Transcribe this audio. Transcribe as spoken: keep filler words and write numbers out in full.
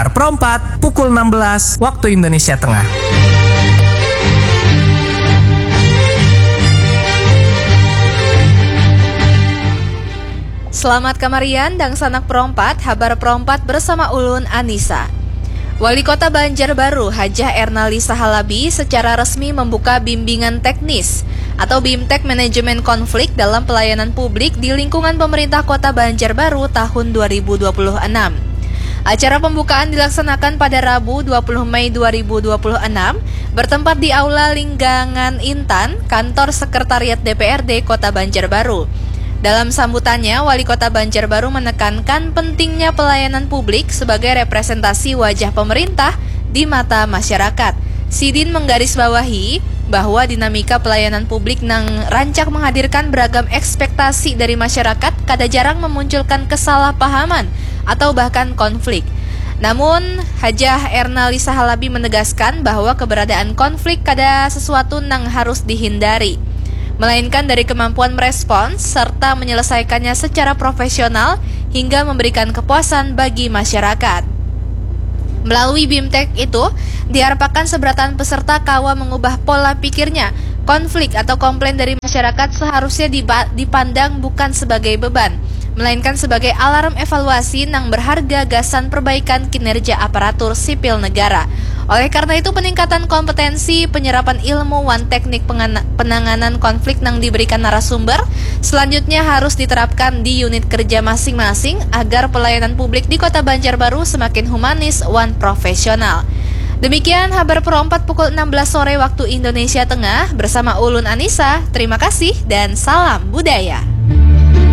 Habar Perompat pukul enam belas waktu Indonesia Tengah. Selamat kamarian, dangsanak Perompat, Habar Perompat bersama ulun, Anisa. Wali Kota Banjarbaru, Hajah Ernalisa Halabi, secara resmi membuka bimbingan teknis atau BIMTEK Manajemen Konflik dalam Pelayanan Publik di lingkungan pemerintah Kota Banjarbaru tahun dua ribu dua puluh enam. Acara pembukaan dilaksanakan pada Rabu, dua puluh Mei dua ribu dua puluh enam, bertempat di Aula Linggangan Intan, Kantor Sekretariat D P R D Kota Banjarbaru. Dalam sambutannya, Wali Kota Banjarbaru menekankan pentingnya pelayanan publik sebagai representasi wajah pemerintah di mata masyarakat. Sidin menggarisbawahi bahwa dinamika pelayanan publik nang rancak menghadirkan beragam ekspektasi dari masyarakat kada jarang memunculkan kesalahpahaman atau bahkan konflik. Namun, Hajah Ernalisa Halabi menegaskan bahwa keberadaan konflik kada sesuatu nang harus dihindari, melainkan dari kemampuan merespons serta menyelesaikannya secara profesional hingga memberikan kepuasan bagi masyarakat. Melalui BIMTEK itu, diharapkan seberatan peserta kawa mengubah pola pikirnya. Konflik atau komplain dari masyarakat seharusnya diba- dipandang bukan sebagai beban, melainkan sebagai alarm evaluasi nang berharga gasan perbaikan kinerja aparatur sipil negara. Oleh karena itu, peningkatan kompetensi, penyerapan ilmu, wan teknik pengana- penanganan konflik nang diberikan narasumber selanjutnya harus diterapkan di unit kerja masing-masing agar pelayanan publik di Kota Banjarbaru semakin humanis wan profesional. Demikian Habar Perompat pukul enam belas sore waktu Indonesia Tengah bersama ulun, Anisa. Terima kasih dan salam budaya.